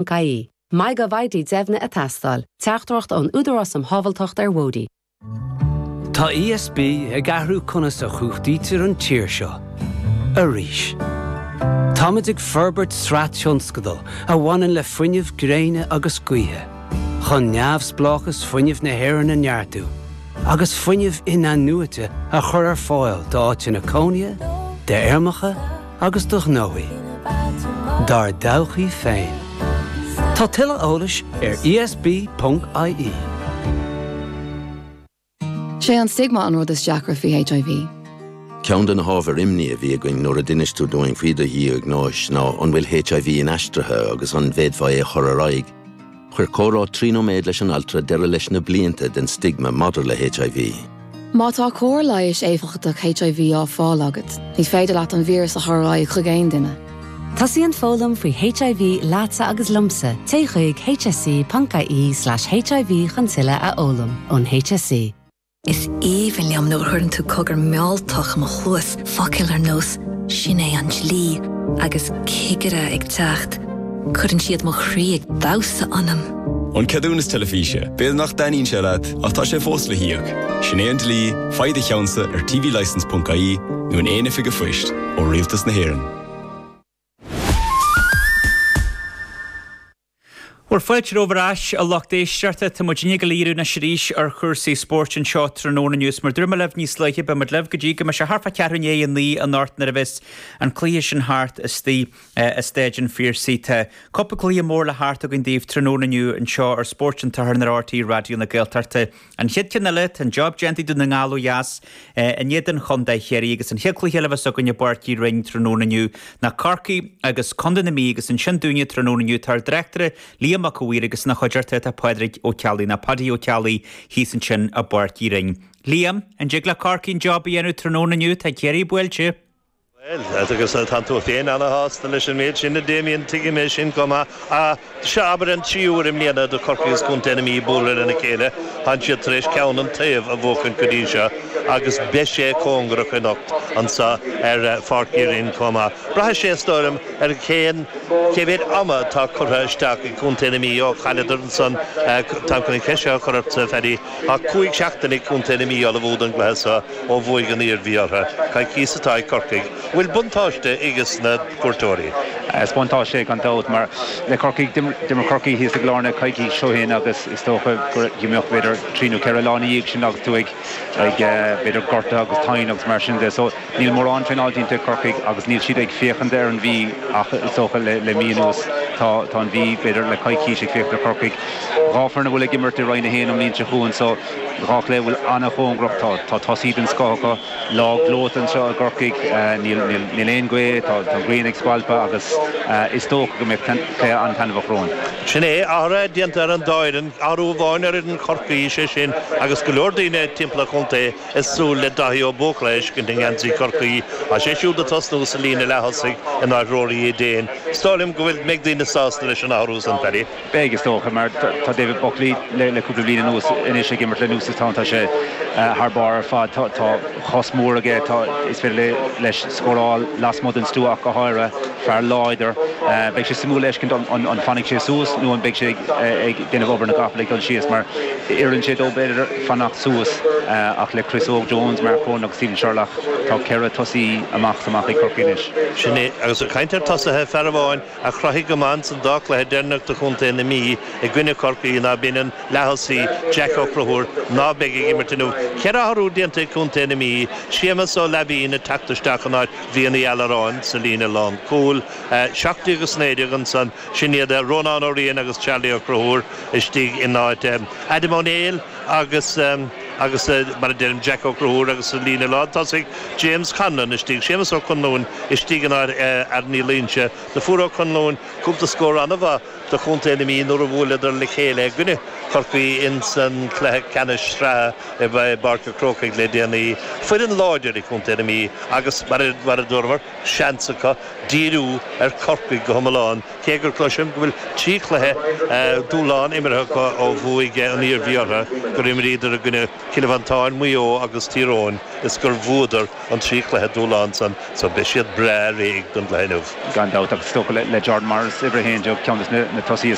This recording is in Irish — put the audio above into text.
Ie. MyGovID deimhnithe ag teastáil. Teachtaireacht ón Údarás um Shábháilteacht ar Bhóithre. Tá ESB ag athrú conas a chumhachtaítear an tír seo. Arís. Táimid ag forbairt sraith tionscadal a bhaineann le fuinneamh gréine agus gaoithe, chun neamhspleáchas fuinnimh na hÉireann a neartú agus fuinneamh in-athnuaite a chur ar fáil d'áiteanna cónaithe, d'fheirmeacha agus do ghnóthaí. Dár dtodhchaí féin. Tá tuilleadh eolais ar esb.ie. Sé an stigma an rud is deacra faoi HIV. Ceann de na hábhair imní a bhí againn nuair a d'inis tú dúinn faoi do dhiagnóis ná an bhfuil HIV inaistrithe agus an bhféadfá é a chur ar aghaidh. Chuir comhrá 3 nóiméad leis an altra deireadh leis na blianta den stigma maidir le HIV. Má tá cóir leighis éifeachtach HIV á fáil agat, ní féidir leat an víreas a chur ar aghaidh chuig aon duine. Tosaíonn foghlaim faoi HIV leatsa agus liomsa, téigh chuig hse.ie/hiv chun tuilleadh a fhoghlaim ón HSE. Is aoibhinn liom nuair a chuireann tú cogar mealltach i mo chluas, focail ar nós 'sin é an dlí' agus 'cigire ag teacht'. Cuireann siad mo chroí ag damhsa ionam. An ceadúnas teilifíse, b'fhéidir nach dtaitníonn sé leat, ach tá sé fós le híoc. Sin é an dlí, faigh do cheannsa ar tvlicence.ie nó in aon oifig an phoist, ó Rialtas na hÉireann. Bhuel, fáilte romhaibh ar ais, a lucht éisteachta. Tá muid ag dul a dhíriú anois arís ar chúrsaí spóirt anseo tráthnóna inniu. Is mar a dúirt mé libh níos luaithe, beidh muid libh go dtí go mbeidh sé thart fá cheathrú i ndiaidh a naoi anocht nuair a bheas an cluiche sin thart istigh i Staid an Phiarsaigh. Tá cúpla cluiche mór le theacht againn daoibh tráthnóna inniu anseo ar Spórt an tSathairn ar RTÉ Raidió na Gaeltachta. An chéad cheann eile, tá an job déanta ag Dún na nGall ó dheas in éadan Chontae Chiarraí agus an chéad chluiche eile a bheas againn i bPáirc Uí Rinn tráthnóna inniu ná Corcaigh agus Contae na Mí agus ansin dúinne tráthnóna inniu tá ár dtráchtaire Liam Mac a' Mhaoir agus ina chuideachta tá Pádraig Ó Ceallaigh nó Paddy Ó Ceallaigh thíos ansin i bPáirc Uí Rinn. Liam, an dtig le Corcaigh an job a dhéanamh tráthnóna inniu? Tá Ciarraí buailte. Bhuel, agus tánn tú féin ana-shásta leis an méid sin, a Damien, tuigim é sin go maith. Seo, abair, an tríú huair i mbliana do Corcaigh agus Contae na Mí bualadh lena chéile. Tánn siad tar éis ceann an taobh a bhuachaint go dtí seo agus beidh sé cóngarach anocht anso ar Pháirc Uí Rinn chomh maith. Braithfidh sé, is dóigh liom, ar cén, cé mhéad ama atá curtha isteach ag Contae na Mí ó chailleadar ansan, táim chun an cheist seo a chur ortsa, a Phaddy, tá 5 seachtaine ag Contae na Mí ullmhú don gcluiche seo. ó bhuaigh an Iarmhí orthu. Coicíos atá ag Corcaigh. Bhfuil buntáiste aiges na cuairteoirí? Is buntáiste é gan dabht mar le Corcaigh, d'imir Corcaigh thíos i gClarna coicís ó shin agus is dócha go mbeadh b'fhéidir trí nó ceithre lá ina dhiaidh sin agus tú ag b'fhéidir gortaithe agus tinn agus mar sin de. So níl mórán traenáil déanta ag Corcaigh agus níl siad ag féachaint ar an Mhí ach is dócha le mí anuas tá tá an Mhí b'fhéidir le coicís ag féachaint ar Chorcaigh. Dhá foireann a bhfuil ag imirt i Roinn 1 an mbliain seo chugainn so Dhá chluiche a bhfuil an-chóngarach. Tá tá tosaí den scoth acu. Lá gleoite anseo i gCorcaigh. Níl níl níl aon ghaoth, tá tá an ghrian ag spalpadh agus is dócha go mbeidh cluiche an-taitneamhach romhainn. Sin é, athruithe déanta ar an dá fhoireann, athrú amháin ar fhoireann Chorcaí, sé sin, agus go leor daoine timpeall an chontae ag súil le Daithí Ó Buachalla a fheiscint i ngeansaí Chorcaí. Tá sé siúd ag tosnú sa líne leath-thosaigh in áit Rory Eden. Is dóigh liom go bhfuil mbeidh daoine sásta leis an athrú san, Paddy. Beidh, is dócha, mar tá David Buckley le cúpla bliain anuas anois ag imirt le Newcestown, tá sé thar barr ar fad, tá cos mór aige, tá, is féidir leis scóráil lasmuigh den stua ach go háirithe, fear láidir. Beidh sé suimiúil a fheiscint an fanfaidh sé suas nó an mbeidh sé ag déanamh obair na gcapall ag dul síos mar oireann sé dó b'fhéidir fanacht suas ach le Chris Óg Jones, Mark Cronin agus Stephen Sherlock, tá ceithre tosaí amach is amach ag Corcaigh anois. Sin é, agus ag caint ar tosaithe, fear amháin a chruthaigh go maith ins an dá chluiche deireanach do chontae na Mí i gcoinne Chorcaí ná b'in an leath-thosaí Jack Ó Conchúir ná beidh ag imirt inniu. Ceithre athrú déanta ag contae na Mí, Séamus Ó Laimhín ag teacht isteach in áit Bhrian Uí Allaráin sa líne lán-chúil, 17 agus 19 ansan, sin iad Rónán Ó Riain agus Charlie Ó Conchúir istigh in áit Adam Ó Néill. agus agus mar a deirim Jack Ó Conchúir agus sa líne lántosaigh James Conlon istigh, Séamus Ó Conluain istigh in áit Aaron Uí Loingsigh. Do fuair Ó Conluain cúpla scór an-mhaith do chontae na Mí nuair a bhuaileadar le chéile i gcoinne Chorcaí ins an cluiche ceannais sraithe i bPáirc an Chrócaigh le déanaí. Foireann láidir í contae na Mí agus mar a dúramar, seans acu díriú ar Chorcaigh go hiomlán. Cé gur cloisim go bhfuil 3 chluiche dúshláin imeartha acu ó bhuaigh an Iarmhí orthu, gur imríodar i gcoinne Cill Mhantáin, Maigh Eo agus Tír Eoghain is gur bhuadar an 3 chluiche dúshláin san so beidh siad breá réidh don gcluiche inniu. Gan dabht, agus is dócha le Jordan Morris, uimhir 11, ceann de na tosaithe is.